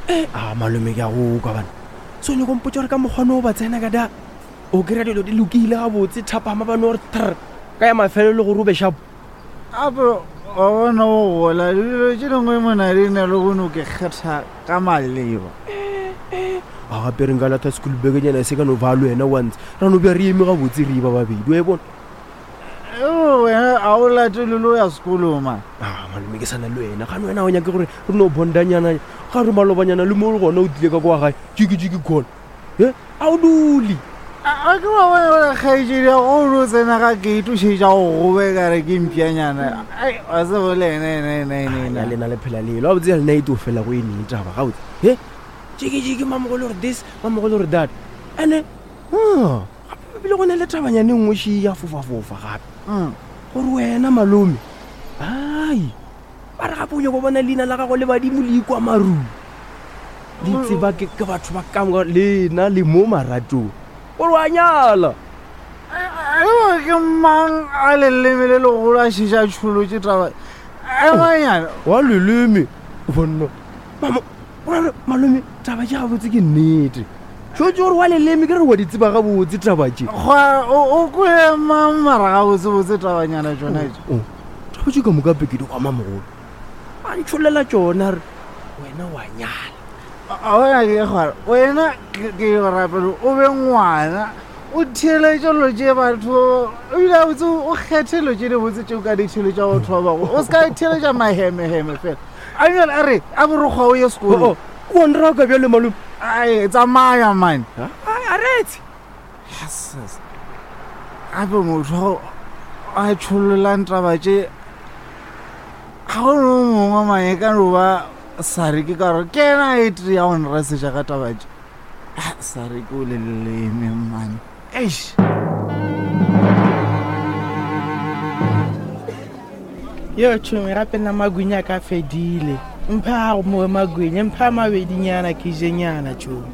Eh, a malome ke a go kwa bana. So nyoko mpotša gore ka mokgwa no ba tsena ka da. O kry-a dilo di lokile gabotse thapama ba no re thr ka ya mafelelo gore o be shapo. Gape wa bona o gola dilo tše dingwe mona di na le go no ke kgetha ka maleba. A gape re nka latha school bekenyana se ka no ba le wena once ra no bja re eme gabotse re ba babedi wa e bona. Wena a o latele le o ya sekolong man. A malome ke sana le wena gane wena o nyake gore re no bondanyana ga re malobanyana le mo le gona o tlile ka kwa gae jiki jiki khona e a o dule. A ke wa bona gore kgaetšedi ya go no tsena ga gate o šetša go gobe ka re ke mpšanyana. Ai wa se bole ena ena ena ena ena. Ya lena le phela lelo a botse ya lena e to fela go e neng taba gabotse. He jiki jiki mamogolo gore this mamogolo gore that. Ene ah Gape ebile go na le tabanyane nngwe še ya fofafofa gape mm. gore wena malome ai ba re gape o nyako bona leina la gago le badimo le ikwa marung le tseba ke batho ba kamoka lena le mo maratong gore wa nyala ke mang a leleme le legolo a šeša tšholotše taba emanyana wa leleme bonna Gore malome taba tše gabotse ke nnete tšo tse gore wa leleme ke re wa di tseba gabotse taba tše Gwa o o kwele mang mara gabotsebotse tabanyana tšona tše Oh, taba tše ka moka peke di kwa mamogolo a ntšholela tšona re wena wa nyala A bona ke gore wena ke ke go rapela o be ngwana o theeletše dilo tše batho ebile gabotse o kgethe dilo tše dibotse tše o ka di theeletša batho ba bangwe o se ka theeletša mahemeheme fela A bjale a re, a borokgwa o ye sekolong. O a nraka bjale malome. Ai, tsamaya man. Ai, a retse. Yes. Gape motho a tšhololang taba tše ga go no mongwe manye ka no ba sare ke ka gore ke ena a e tee ya go nresetša ka taba tše. Ah, sare ke o le leleme man. Eish. Yo tšhomi gape nna magwinya ka fedile mpha go mowe magwinya mpha mabedinyana ke jenyana tšhomi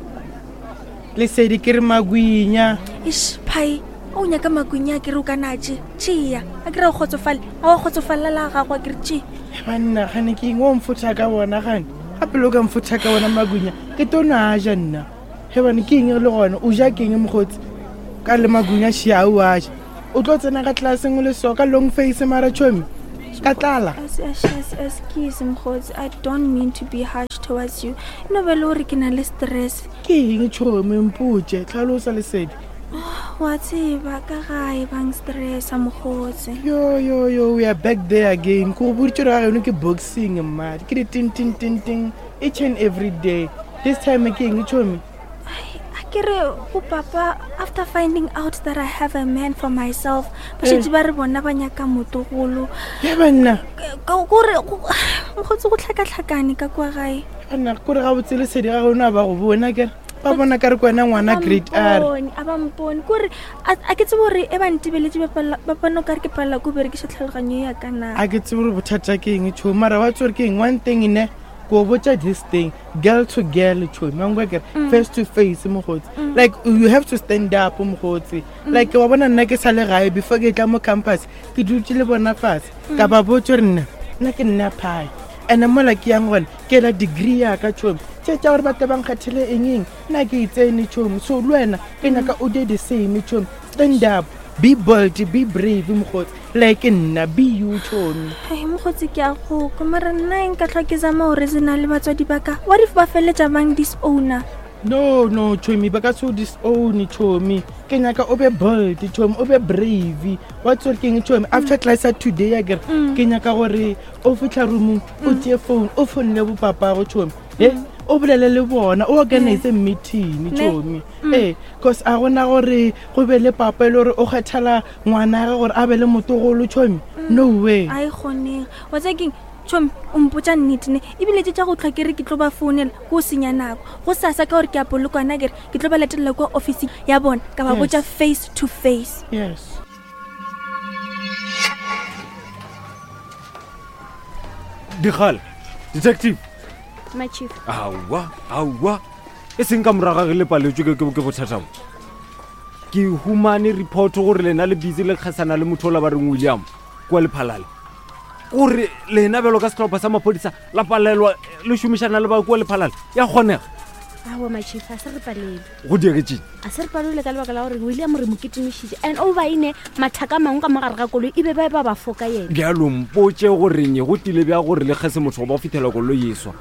lesedi ke re magwinya ish phai o nyaka magwinya a ke re o ka natše tšea a ke re o kgotsofale a wa kgotsofalela la gago a ke re tše banna gane ke eng o mfotha ka bona gane gape le o ka mfotha ka bona magwinya ke to no a ja nna Hebane ke eng le gona o ja keng mokgotsi ka le magunya šia o a ja o tlo tsena ka tlelaseng o le so ka long face mara chomi ka tlala Excuse mokgotsi i don't mean to be harsh towards you e no be le gore ke na le stress ke eng chomi mpotše tlhalosa lesedi wa tseba ka gae bang stressa mokgotsi yo yo yo we are back there again ko go boditse gore ga geno ke boxing mmadi ke di ting ting ting ting each and every day this time ke eng chomi a ke re go papa after finding out that i have a man for myself ba eh. šetse ba re bona ba nyaka motogolo ya banna kore mokgotsi go tlhakatlhakane ka kwa gae banna kore ga botse lesedi ga gona ba go bona kere ba bona ka re ke wena ngwana grade r a ba mpone kore a ke tsebe gore e ba ntebeletse ba pano ka re ke palela ko berekiša tlhaloganyo ya ka na a ke tsebe gore bothata ke eng tšho mara wa tse gore ke eng one thing ne ko botša this thing girl to girl tšhomi wa nkwa kere mm. face to face mogotsi mm. like you have to stand up mogotsi mm. like wa bona nna ke sa le gae before ke tla mo campus ke dutse le bona fatshe ka ba botse gore nna nna ke nna phae and mola ke yang gone ke la degree ya ka tšhomi tše tša gore batho ba nkgethele eng eng nna ke itsene tšhomi so le wena ke nyaka o de the same tšhomi stand up be bold be brave mogotsi like nna be you chomi ai mogotsi ke a go kwa mara nna eng ka tlhwa ke zama gore se na le batswadi ba ka what if ba feleletša bang disowner no no chomi ba ka se o disown chomi ke nyaka o be bold chomi o be brave wa tsore ke eng chomi after class ya today ya kere mm. ke nyaka gore o fitlha roomong o mm. tšee phone o founele bopapago chomi e mm. o bolele le bona o organize meeting chomi ee cause a gona gore go be le papa e le gore o kgethela ngwanage gore a be le motogolo tšhomi mm. no way a e kgonege wa tsa keng tšhomi o mpotsa nnete ne ebile tse tša go tlhwa ke re ke tlo ba founela ko o senya nako go sasa ka gore ke a polokwana kere ke tlo ba latelela kwa officing ya bona ka ba botsa face to face yes dikgale detective my chief aowa aowa e seng ka moraga ge le paletswe ke bothata bo ke humane report gore lena le busy le kgasana le motho ola ba reng william kua lephalale Gore lena bjalo ka sehlopha sa maphodisa la palelwa le šomišana le ba kua Lephalale, ya kgonega? Aowa my chief, a se re palelwe. Go diegetšeng? A se re palelwe ka lebaka la gore William re mo kitimišitše and over ine mathaka a mangwe ka mo gare ga koloi e be ba ba ba foka yena. Bjalo mpotše gore nye go tlile bja gore le kgese motho goba go fihlela koloi e swa.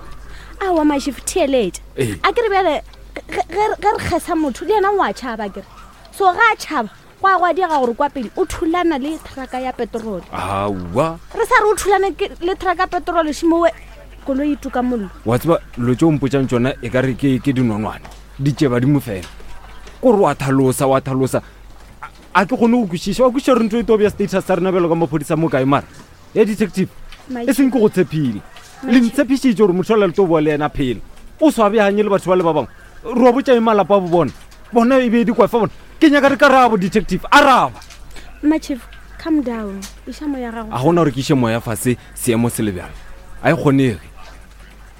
Aowa my chief, theeletša. Ee. A ke re bjale ge ge re kgesa motho le yena o a tšhaba akere. So ge a tšhaba Gwa gwa diega gore kwa pele o thulana le thraka ya petrole. Aowa. Re sa re o thulane le thraka ya petrole šimowe koloi e tuka mollo. Wa tseba dilo tše o mpotšang tšona e ka re ke ke dinonwane di tše badimo fela. Kore wa thalosa wa thalosa a ke kgone go kwešiša wa kwešiša gore ntho e tlo bja status sa rena bjalo ka maphodisa mo kae mara ya detective e seng ke go tshepile le ntshepišitše gore motho ola le tlo boa le yena phela o swabjanye le batho ba le ba bangwe re wa botša eng malapa a bo bona bona e be e di kwafa bona ke nyaka re karabo detective araba Mma chief calm down iša moya gago a gona gore ke iše moya fase seemo se le bjalo a e kgonege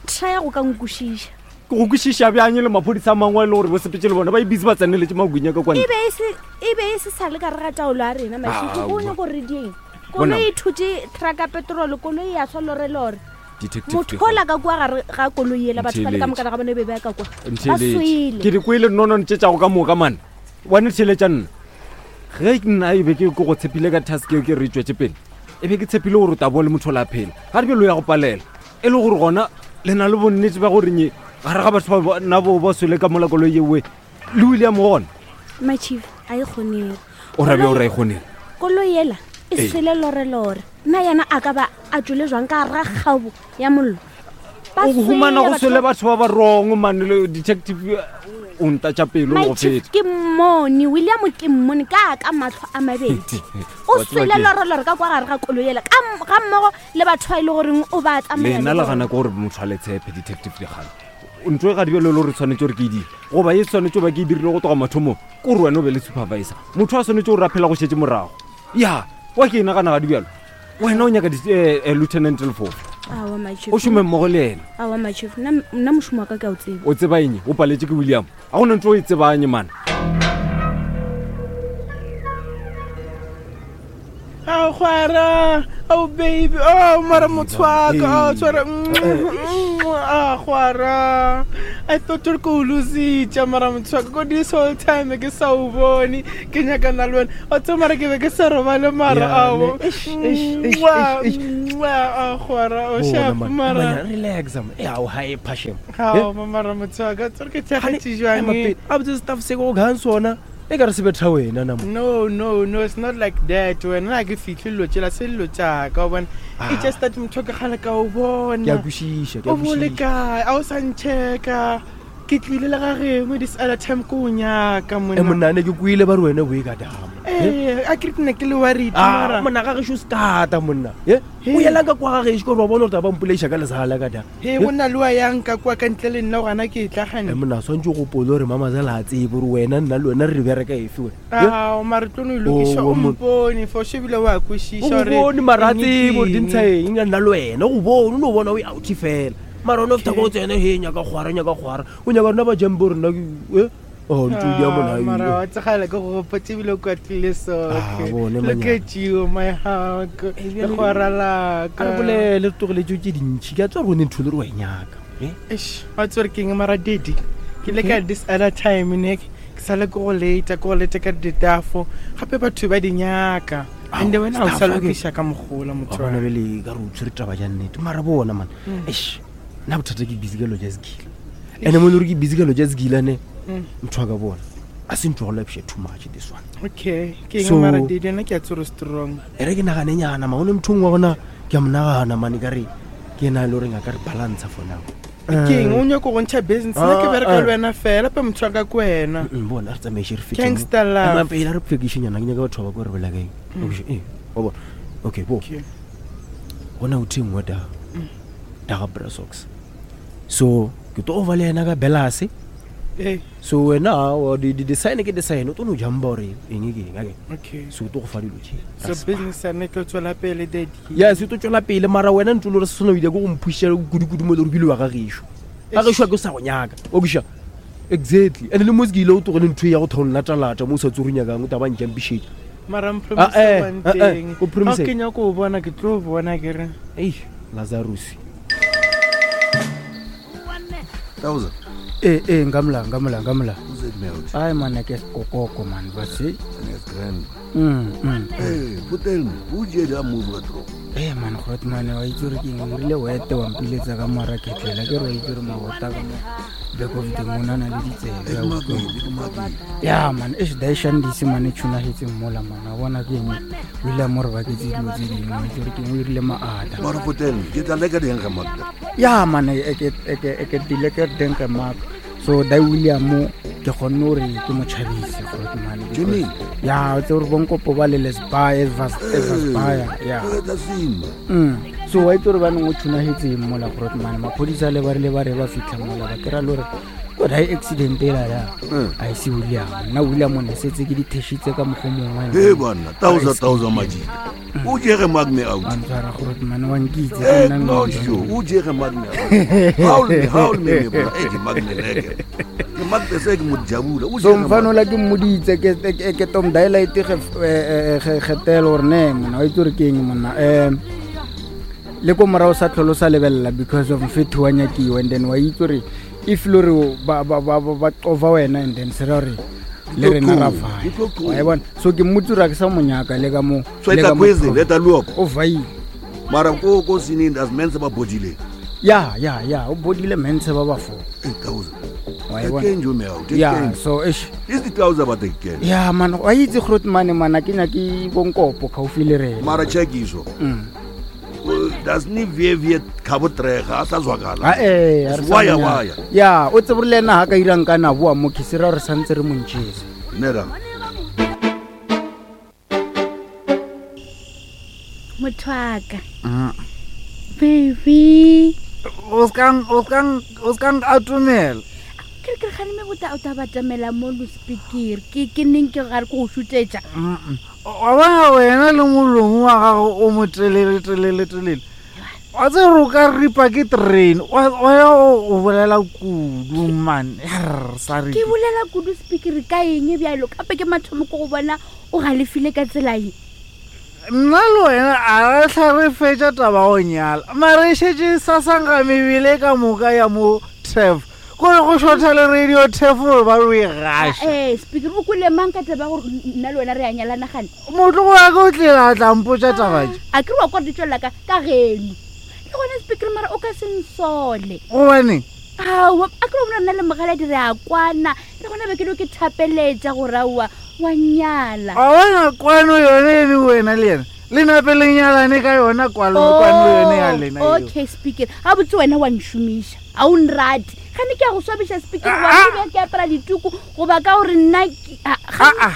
try go ka nkwešiša ke go kwešiša bjang le maphodisa a mangwe a e le gore bo sepetse le bona ba e busy ba tseneletše magwinya ka kwane e be e se e be e se sa le ka re ga taolo ya rena mašiko Aowa. o nyako re dieng Bona. koloi e thutše truck ya petrol koloi ya swa lorelore Detective motho Dikgang. ola ka kua gare ga koloi ela batho ba le ka Ntheeletše. mokana ga bone be ba ka kua ba Ntheeletše. swele ke di kwele nonone tše tšago ka moka mane wane theeletša nna ge nna e be ke ke go tshepile ka task eo ke re tswetse pele e be ke tshepile gore o tla boa le motho o la phela ga re bjalo ya go palela e le gore gona le na le bonnete ba gore nye gare ga batho ba nna bo ba swele ka mola koloi ewe le william gona my chief a e kgonege o rabe o ra e kgonege koloi ela e Ee. swele lorelore nna yena a ka ba a tswele jwang ka gara kgabo ya mollo Ba o humana go swele swele batho ba ba wrong mane le detective eh, o ntatša pelo My go chief feta ke mmone william ke mmone ka ka matlho a mabedi o Wa tseba swele ke- lorelore ka kwa gare ga koloi ela ka ga mmogo le batho ba e le goreng o ba tsamaya lena le le bona. gana ke gore motho a le tshepe detective dikgale ntho e ga dibjalo le gore tshwanetse gore ke e dire goba e tshwanetse ba ke e dirile go tloga mathomong ke gore wena o be le supervisor motho a tshwanetse gore a phela go šetse morago ya wa ke e nagana ga dibjalo wena o nyaka eh, eh, lieutenant lefofa Aowa, my chief. o šome mmogo le ena Aowa, my chief. Nna nna mošomo wa ka ke a o tseba o tseba eng o paletse ke william a gona ntho o e tsebanye mana Ao gwara, ao baby, oh mara motho wa ka, oh tshwara, ah gwara. I thought gore ke o lositše mara motho wa ka, ko this whole time ke sa o bone, ke nyakana le wena. Wa tseba mara ke be ke sa robale mara Ya, ao. ne. Eish, eish, eish, Mwah, eish, eish. mwah, ah gwara, o Bona, sharp man. mara. Manya, relax man. Eh, ao ha e phashem. Ao mara motho wa ka, tsore ke theagetše jwang. A botse staff se go kgang sona. E ka re se betha wena na mo. No, no, no, it's not like that. Wena ga ke fihle dilo tšela se dilo tšaka o bona. It's just that motho ke kgale ka o bona. Ke a kwešiša, ke a O bo le kwešiša. kae? A o sa nchecka. Ke tlile le ga gengwe this other time ko o nyaka E monna. monna ne ke kwile ba re wena bo e ka dama. Eh, a ke re ke ne ke le worried Ah, mara. monna ga gešo sekata monna. Eh? O yelang ka kwa ga gešo gore wa bona gore taba mpoleiša ka lezala ka da. He go na le wa yang ka kwa ka ntle le nna gona ke tla E gane. monna swantse o gopole gore mamazela a tsebe gore wena nna le wena re bereka efe wena. Eh? Ah, mara tlo no lokiša Oh, o mo- mpone for sure ebile wa O kwešiša go gore bone mara a eng tsebe gore ke di eng. ntsha eng nna le wena o go bone o no bona o e outi fela mara one feta ko tsene he nyaka kgwara nyaka kgwara o nyaka rona ba jampe rena e oh ntse o dia Ah, mara mona wa tsegala ke go gopotse ebile o kwatlile Ah, soke bone, look manyana. at you my hug Eh, bjale- legora laka a re bolele re tlogeletse tse dintšhi ke a tswa gore o ne ntho le re wa e nyaka Eh? Eish, wa tsore ke eng mara daddy ke le ka this other time ne ke sale ke go lata ke go lata ka ditafo gape batho ba di nyaka and wena ga o sa staff, okay. lokiša ka mogola wa motho bona wa ka. bele ka re o tshwere taba ja nnete mara bona man eish nna bothata ke busy ka lo ja sekila ande mo e le gore ke busy ka lo ja sekila ne motho wa ka bona a se ntho go lapša too much this one okay ke eng So- mara daddy nna ke a tsore strong e re ke naganenyana ma one motho mongwe wa gona ke a monagana mane ka re ke ena e le goreng a ka re balancer for now ke eng o nyako go ntšha business nna ke Ah, bereka ah. le wena fela pe motho wa ka ke wena Bona re tsamaiše re fete Gangster love. Ema pele a re phekišenyana ke nyaka batho ba ko re bolela kaeng ee wa bona okay bo Okay. gona o the nngwe da da ga brasox so ke tlo ova le yena ka belase Ee, so wena aowa, di-design ke design o tlo no jamba gore eng ke eng ake okay so o tlo go fa dilo tše so business ya ne tlo tswela pele daddy ya se tlo tswela pele mara wena ntse le gore se sona o ile ke go mphuša kudu-kudu mo e le gore bile wa ga gešo ga gešo a ke sa go nyaka o kiša exactly and le mo se ke ile o tlogele ntho e ya go thong latalata mo o sa tse o nyakang o taba ntšampišetša Mara Ah, eh, one ah, eh, thing. ko promise- Ga ke nyako o bona ke tlo bona ke re. Ei, Lazarus. Thousand. ee ee nka mola nka mola nka mola Who's that melt? ai man ke sekokoko man but se That's grand. Mm. Hey, hotel me. Who did that move ka drop? ee man grot man wa itse gore ke eng o rile wete wa mpiletsa ka moara ketlela ke re wa itse gore mabota ka mo back of the moon a na le ditsebe a utlwa. ya man e daishandise mane tshunagetseng mola man a bona ke eng o ile a mo re baketse dilo tse dingwe wa itse gore ke eng o irile maata Mara hotel me. Ke tla leka ding ga makta. ya man e ke dile ke denke mark so dai william ke kgonne gore ke mo tšhabise groot man because- Jimmy. ya o tse gore bonkopo ba le lesbaya evasbaya ya That's him. So wa itse gore baneng o tshunagetseng mola groot man maphodisa le ba rile ba re ba fitlha mola ba kry-a le gore ko dai accident ela ya a ise william nna william o ne setse ke dithešitse ka mokgwa mongwe Hey bana, thousand thousand majita. O jege magne out. wa ntshwara groot man wa nkitse ke Eh, nna no mme. sure. O jege magne out. Haul me, haul me me bra. Eh, ke magne leke. Ke magne se ke mo jabula. O so jege mfano la ke mmoditse ke tom dialite getelo gore ne monna wa itse gore ke eng monna um le ko morago sa tlholo sa lebelela because of mfetho wa nyakiwa and then wa itse gore if le gore ba cova wena and then se ra gore le rena ra Ke tlo vaya wa e bona so ke mmotse gore a ke sa monyaka le ka mo So le etla ka mo kwezi leta luopo. o vaile Mara ko ko sinini as men se ba bodile. ya ya ya o bodile mentshe ba ba fo Eh, thousand. wa e Ke bona kenjo me out. ya so eish Is the thousand ba te ke. ya man wa itse groot mane mana ke nyake bonkopo gaufi le rena Mara check iso. Das ni vie vie khabo trega a sa zwakala. Ah, eh, ha re sa Waya mo nyaka. waya. ya o tsebe gore le ena ga ka irang ka na boa mo ke se ra gore santse re montšhese Nera. motho aka baby o ska atumela ke re ke re gane me bota o ta batamela mo lospikere ke ke neng ke gare ke go šutetša wa bona wena le molomo wa gago o mo telele telele telele wa tse gore o ka ripa ke train wa ya o bolela kudu man Err, sorry. ke bolela kudu spikere ka eng bjalo kape ke mathomo ko go bona o galefile ka tsela ye Nna le wena a re tlha re fetša taba go nyala mare e šetše sa sankga mebele ka moka ya mo tef kore go šotha le radio tef gore ba re e gaša ee spikere o kwele mang ka taba ya gore nna le wena re a nyalana gane motlogo wa ka o tlile a tla mpotša taba tše a ke re wa kwa di tswelela ka ka geno le gona spikere mara o ka se nsole gobaneng aowa a ke re bona nna le mogaladi re a kwana le gona be ke dio ke thapeletša gore aowa wa nyala a bona kwano yone ene wena le yena le nape le nyalane ka yona kwano kwano yone ya lena eo. Oh, okay speaker ga botse wena wa nšomiša ga o nrate gane ke a go swabiša speaker Ah, wa ah. be ke apara dituku goba ka gore nna ke- a- ga- aa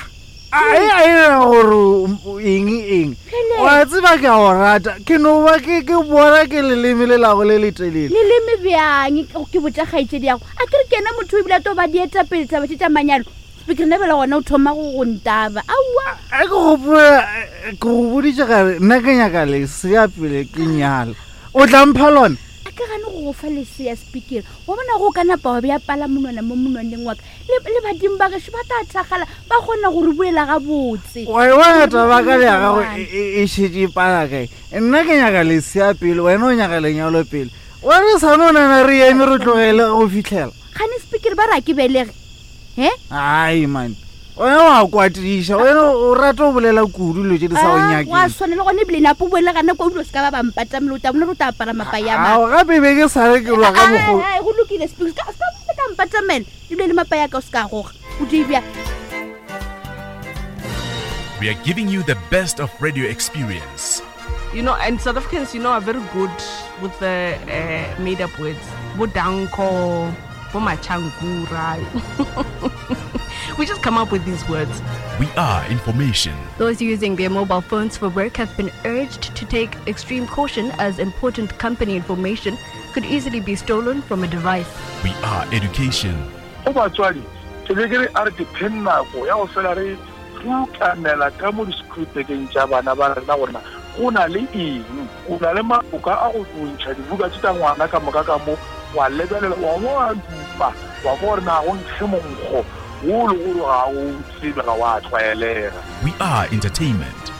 a e a ena gore eng eng Phele. wa tseba ke a go rata ke no ba ke ke bona ke leleme le lago le letelele leleme bjang ke botša kgaetšedi yago a ke re ke ena motho o ebile a to ba dietapele taba tše tša manyalo speaker nna bela gona o thoma go go ntaba aowa a ke gopola ke go boditše gare nna ke nyaka lesea pele ke nyala o tla mpha lona a ke gane go go fa lesea speaker wa bona go ka napa wa bea pala monwana mo monwaneng wa ka le le badimo ba gešo ba tla thakgala ba kgona go re buela gabotse wa e bona taba ka le ya gago e šetše e pala kae nna ke nyaka lesea pele wena o nyaka lenyalo pele wa re sa no nana re eme re tlogele go fitlhela gane speaker ba re a ke belege he ai man wena wa kwatiša wena o rata o bolela kudu dilo tše di sa go Ah, wa nyakeng swana le gone ebile napo boele gana kwa o dilo se ka ba bampatamele o tla bona re o tla apara mapaya a ao gape be ke sa re ke lwa ka mokgo mang go lokile speaker se ka se ka mpatamela ebile le mapaya ka o se ka goga o di bja We are giving you the best of radio experience. You know, and South Africans, you know, are very good with the made up words. Bodanko, bomachankura. We just come up with these words. We are information. Those using their mobile phones for work have been urged to take extreme caution as important company information could easily be stolen from a device. We are education. Go batswadi ke be ke re a re dipheng nako ya go fela re ukamela ka mo di-schoolbekeng tša bana ba rena gorena go na le eng o na le maboka a go ntšha dibuka tse tsa ngwana ka moka ka mo wa lebelela wa bo wa dupa wa kwa gore na go nkge monkgo Wo le gore ga o tsebe ga wa tlwaelega. We are entertainment.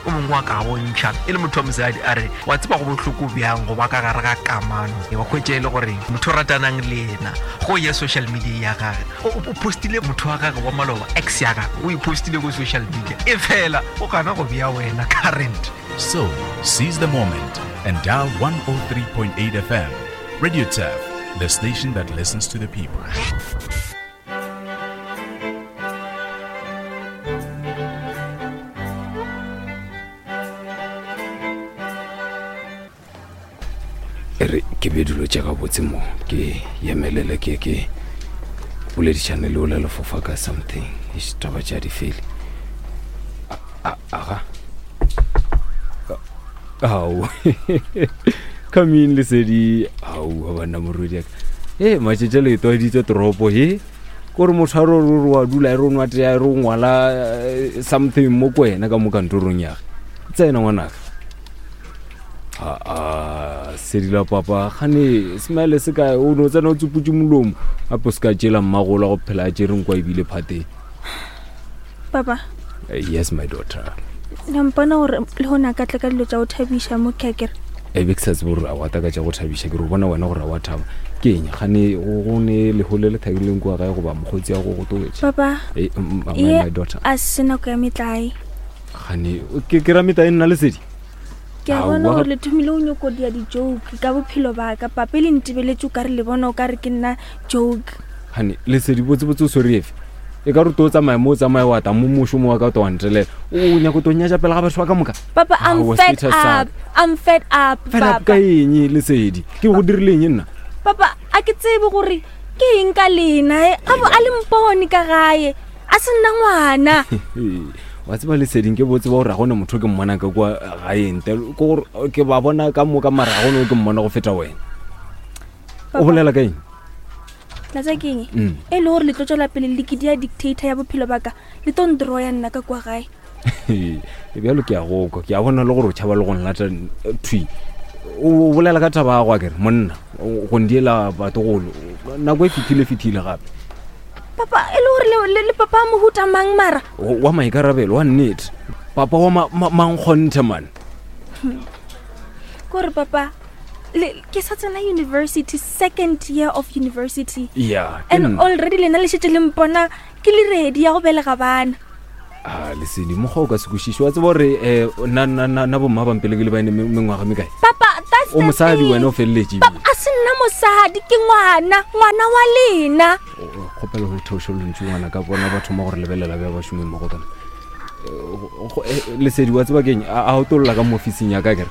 O mongwe wa ka bontšha e le motho wa mosadi a re wa tseba go bohloko bjang go ba ka gare ga kamano wa hwetša e le gore motho o ratanang le yena go ye social media ya gage o postile motho wa gage wa maloba ex ya gage o e postile ko social media e fela o gana go bea wena current. So, seize the moment and dial 103.8 FM. Radio Turf, the station that listens to the people. E re ke be dilo tša gabotse mo ke yemelele ke ke boledišane le ola lefofa ka something Eish, taba tša di fele aga ao come in lesedi ao banna morwedi aka e matšetše le etwaeditse toropo he kore motho a re re wa dula e re o nwa tea e re o ngwala eh, something mo ko wena ka mo kantorong yage tsena ngwanaka aa sedila papa gane smile se kae o ne o tsena o tsuputse molomo gape o se ka tšela mmagola go phela a tšereng kwa ebile phateng papa Eh, yes my daughter la mpona gore le gone a ka tla ka dilo tša go thabiša mo ke akere e be ke sa tsebe gore a wa taka tša go thabiša ke re o bona wena gore a wa thaba ke eng gane go ne leho le le thabileng kua gae goba mokgotsi ya go go towetše papa Eh, ye my daughter a se nako ya metlae gane ke ke ra metlae nna lesedi ke a Aowa. bona gore le thomile o nyoko dia di-joke ka bophelo baka pape le ntebeletse o ka re le bona o ka re ke nna joke gane lesedi botsebotse o swere efe e ka re to o tsamaya mo o tsamaya wa ta mo mošomo wa ka o to wa ntelela o nyako to nyatša pele ga batho ba ka moka papa i'm Aowa, fed status sa up i'm fed up Fed up ka papa eng lesedi ke go dirile eng nna papa a ke tsebe gore ke eng ka lena e gabo a le mpone ka gae a se nna ngwana wa tseba leseding ke botse ba gore ga gone motho o ke mmonang ka kua gae ntle ke gore ke ba bona ka moka mara ga gone o ke mmona go feta wena o Papa. bolela ka eng tlatsa ke eng Mm. e le gore le tlo tswela pele le ke dia dictator ya bophelo baka le tlo ndroya nna ka kwa gae e bjalo ke a go kwa ke a bona le gore o tšhaba le go nlata eh, thwi o bolela ka taba ya go akere monna go ndiela batogolo nako e fethile fethile gape papa e le gore le- le le papa a mohuta mang mara wa maikarabelo wa nnete papa wa mankgonthe man kore papa le ke sa tsena university second year of university ya ke and nna. already lena le šetse le mpona ke le ready ya go belega bana a lesedi mokgwa o ka se kwešiše wa tseba gore um na bomma bampele ke le baene mengwaga mekae papa that's o the mosadi thing. wena o feleletše papa a se nna mosadi ke ngwana ngwana wa lena kgopelo go theoše lontši ngwana ka bona ba thoma gore lebelela bja bašomi mmogo kana lesedi wa tseba keng a o tolola ka mo officing ya ka kere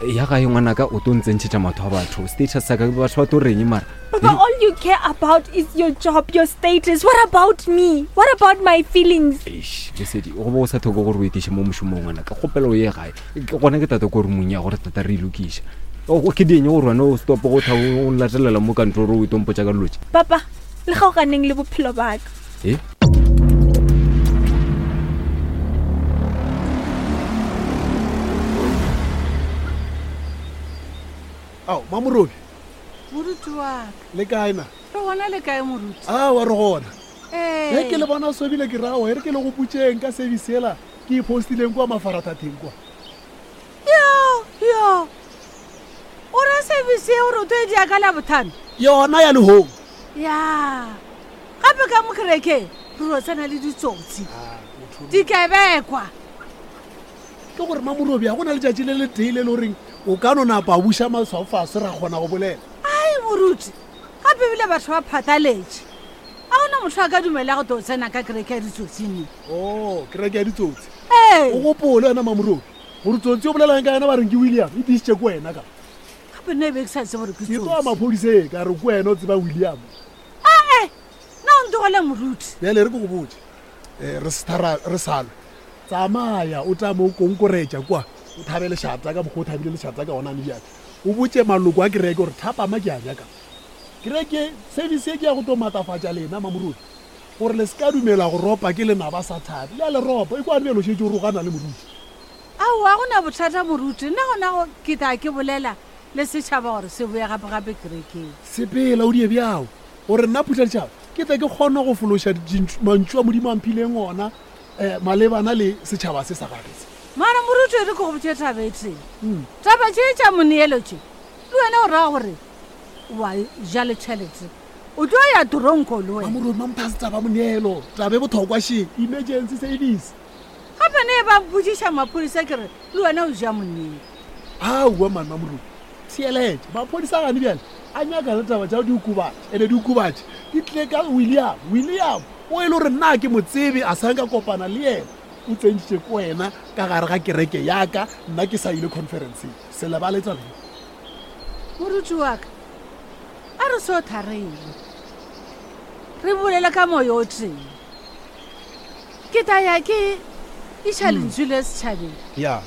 ya gae ngwanaka o to ntsentšhetša matho a batho status sa ka batho ba to reng mara Papa, all you care about is your job, your status. What about me? What about my feelings? Eish, lesedi go bo o sa thoko gore o etiše mo mošomong ngwanaka kgopelo o ye gae Ke gona ke tata ko rumong ya gore tata re e lokiša ke dieng gore wena o stopo go tha o latelela mo kantoro o itompotša ka dilotše Papa, le kgaoganeng le bophelo ba ka. e Ao, Mamorobi, Moruti wa ka. le kae na? Re gona le kae moruti? Aowa re gona. Ee. Ge ke le bona sobile ke rawa e re ke le go putšeng ka service ela ke e postileng kwa mafarathatheng kwa. Yo, yo. O ra service e o re o tlo e dia ka Labohlano? Yona ya lehong. Ya. Gape ka mo kerekeng re ro tsena le ditsotsi. Dikebekwa. Ke gore Mamorobi ga go na letšatši le letee le le goreng o ka no napa a buša maswao fase ra kgona go bolela. Ai moruti. Gape ebile batho ba phatlaletše. A gona motho a ka dumela go tlo tsena ka kereke ya ditsotsi ne. Oh, kereke ya ditsotsi. Ee. O gopole wena Mamorobi gore tsotsi o bolelang ka yena ba reng ke William e tiisitše ke wena ka. Gape nna e be ke sa tsebe gore ke Ke tloa tsotsi. maphodiseng ka re ke wena o tseba William. Ae, nna o ntogele moruti. Bjale re ke go botše eh, re se thara re salwe tsamaya o tame o konkoretša kwa o thabe lešata ka mokgwa o thabile lešata ka gona bjale o botše maloko a kereke gore thapama ke a nyaka kereke service e ke ya go tlo maatafatša lena mamorodi gore le se ka dumela go ropa ke lenaba sa thabe le a le ropa e kwa bjalo o šetše o rogana le moruti Aowa go na bothata moruti nna gona go ke tla ke bolela le setšhaba gore se boye gape-gape kerekeng. Sepela o die bjao gore nna phutha ditšhaba Ke tle ke kgone go fološa mantšu a Modimo a mphileng ona um malebana le setšhaba se sa gage se. Mara moruti e re ke go botše taba e tee. Taba tše tša moneelo tše, le wena o raya gore wa ja le tšhelete, o tlo ya toronko le wena. Mamoruti, Mamthase taba moneelo, taba e bothokwa še, emergency service. Gape ne ba mpotšiša maphodisa ke re le wena o ja moneelo. Aowa man Mamoruti, theeletša, maphodisa gane bjale a nyaka le taba tša diokobatši, ene diokobatši di tlile ka William. William o e le gore nna ke mo tsebe, a sa nka kopana le yena, o tsentšitše ko wena ka gare ga kereke ya ka, nna ke sa ile conferenceng. Se lebale taba ye. Moruti wa ka, a re so tharele, re bolele ka moyo o tee. Ke tla ya ke iša lentšu le setšhabeng. Ya.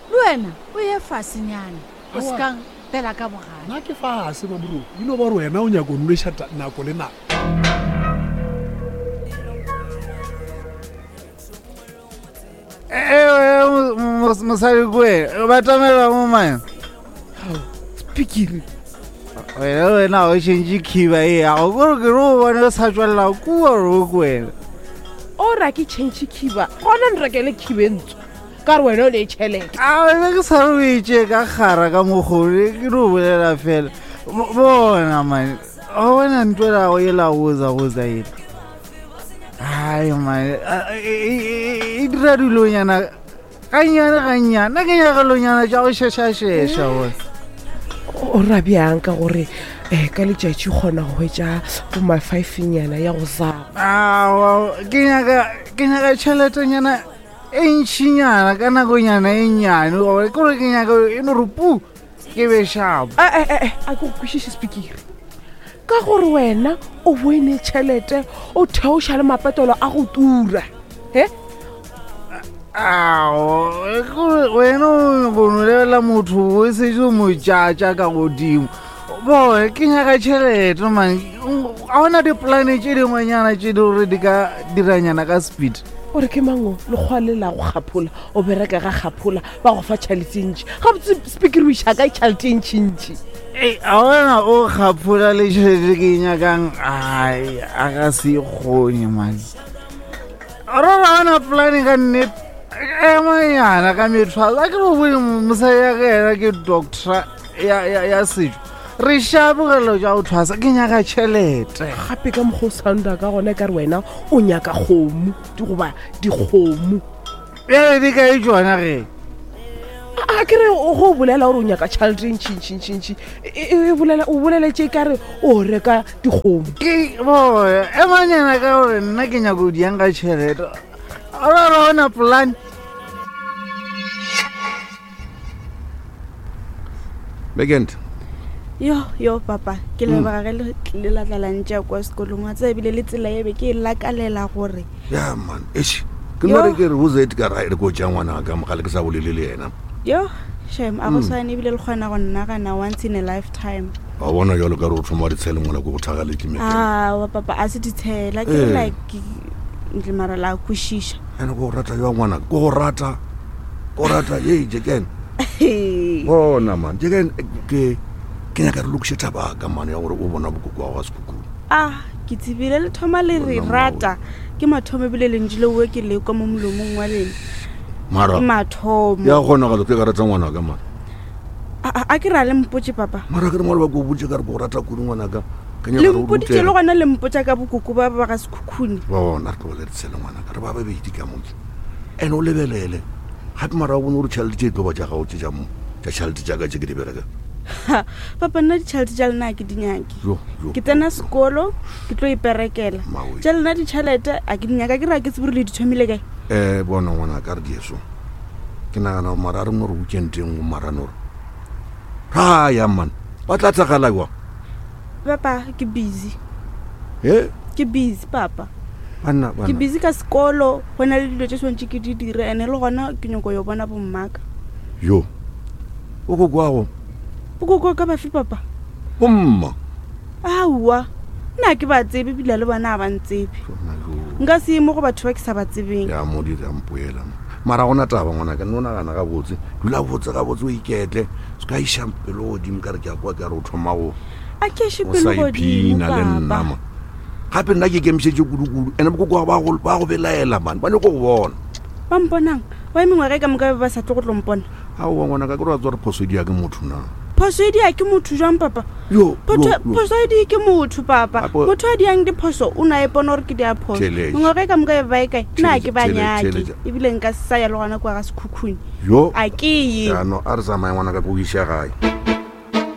Le wena o ye fasenyana, o se ka mpela ka bogale. Nna ke fase, Mamoruti. E no ba gore wena o nyaka go nweša nako le nako. Ewe, mosadi kwe, batamela mo mane. Spikiri. Wena wena o tšhentše khiba e yago kore ke re o bone o sa tswelela kua ro kwena. O ra ke tšhentšhe khiba, gona nrekele khiba e ntsho. Ka re wena o ne tšhelete. A wena ke sa re o e tšee ka kgara ka mokgone ke no bolela fela. Bona mane, o bona ntho ela go ela goza goza ela. Ai mane, e dira dilonyana gannyane gannyane, nna ke nyaka lonyana tša go šešašeša bona. O ra bjang ka gore um ka letšatši kgona go hwetša bo ma five-nyana ya go zaba. Aowa, ke nyaka ke nyaka tšheletenyana e ntšhinyana ka nakonyana e nnyane gore ke gore ke nyaka e no re pu ke be shapo. A ke go kwešiše spikiri. Ka gore wena o boine tšhelete o theoša le mapetolo a go tura. He? Ao, kore wena o go no lebelela motho o setse o mo tšatša ka godimo. Boy, ke nyaka tšhelete man. Ga ona dipolane tše dingwenyana tše di gore di ka diranyana ka speed. O re ke mang o lekgowa le la go kgaphola, o bereka ga kgaphola, ba go fa tšhelete e ntši. Gabotse spikiri o iša kae tšhelete e ntšintši? Ei, a wena o kgaphola le tšhelete ke e nyakang, ai, a ka se e kgone man. Ora ga ona polane ka nnete, emanyana ka methwalo. A ke go bone mosadi ya ka yena ke doctor ya, ya, ya setšo. Re šabogelo tša go thwasa, ke nyaka tšhelete. Gape ka mokgwa o sounda ka gona e ka re wena o nyaka kgomo, goba dikgomo. Bjale di kae tšona ge? A ke re go bolela gore o nyaka tšhelete e ntšintšintšintši, e bolela, o boleletše e ka re o reka dikgomo. Ke boya, emanyana ka gore nna ke nyaka go diang ka tšhelete. Ora ra ona plan. Weekend. Yo, yo papa, ke leboga ge le tlile la tla la ntšea kwa sekolong. Wa tseba ebile le tsela e be ke e lakalela gore. Ya man, eish. Ke no re ke re o zet ka ra re ko tša ngwana ka mogale ke sa bolele le yena. Yo, shem, a go swane ebile le kgona go nnagana once in a lifetime. Wa bona jalo ka re o thoma ditshele mola ko go thagaletše me. Ah, wa papa a se ditshela, ke re like ntle mara la kwešiša. Ene go rata yo ngwana, ko go rata. Ko rata ye jeken. Bona man, jeken ke ke nyaka re lokiše taba ka man ya gore o bona bokoko wa ga sekhukhune. Ah, ke tsebile le thoma le re rata. Ke mathomo ebile lentšu le oe ke lekwa mo molomong wa lena. Mara Ke mathomo. Ya kgona go ke ka rata ngwana ka man. A ke ra le mpotše papa. Mara ke re maloba ke o botše ka re ke go rata kudu ngwana ka. Ke nyaka Le gore o mpoditše rutege. le gona le mpotša ka bokoko ba ba ga sekhukhune. Bona re tlogele re tshele ngwana ka re ba babedi ka mo. Ene o lebelele gape mara o bone gore tšhelete tše e tlo ba tša gago tše tša mo tša tšhelete tša ka tše ke di bereka. Ha, papa nna ditšhelete tša lena a ke di nyake. Jo, jo. Ke tsena sekolo ke tlo iperekela. Mawe. Tša lena ditšhelete a ke di nyaka ke re a ke tsebe gore le di thomile kae. Bona ngwana ka re dieso. Ke nagana gore mara a re no re weekend e nngwe mara no re. Ra ya man. Ba tla tlagala jwang? Papa ke busy. He? Ke busy papa. Banna, Ke banna. busy ka sekolo, go na le dilo tše swantše ke di dire ene le gona ke nyoko yo bona bommaka. Yo. O go kwago. Bokoko ka bafe papa? Bomma. Aowa. Nna ke ba tsebe ebile le bona a ba ntsebe. Nka se ye mo go batho ba ke sa ba tsebeng. Ya mo dira mpoela. Mara gona taba ngwana ka no nagana gabotse. Dula botse gabotse o iketle. Se ka iša pelo godimo ka re ke a kwa ke a re o thoma go A ke iše o pelo sa godimo iphina le nna papa. ma. Gape nna ke ikemišetše kudu-kudu, ene bokoko ba go ba go belaela man, ba nyako go bona. Ba mponang? Why mengwaga e ka moka ba be ba sa tle go tlo mpona? Aowa ngwanaka, ke re wa tseba gore phoso e dia ke motho na? Phoso e dia ke motho jwang papa? Yo, Photo- yo, yo. Phoso e die ke motho papa. Gape- Motho a diang diphoso o ne a ipona gore ke dia phoso. Theeletša. Mengwaga e ka moka e be ba e kae? Nna a ke ba Theeletša, nyake. theeletša. Ebile nka se sa ya le gona kua ga Sekhukhune. Yo. A ke ye. Jaanong a re tsamaye ngwanaka ke go iša gae.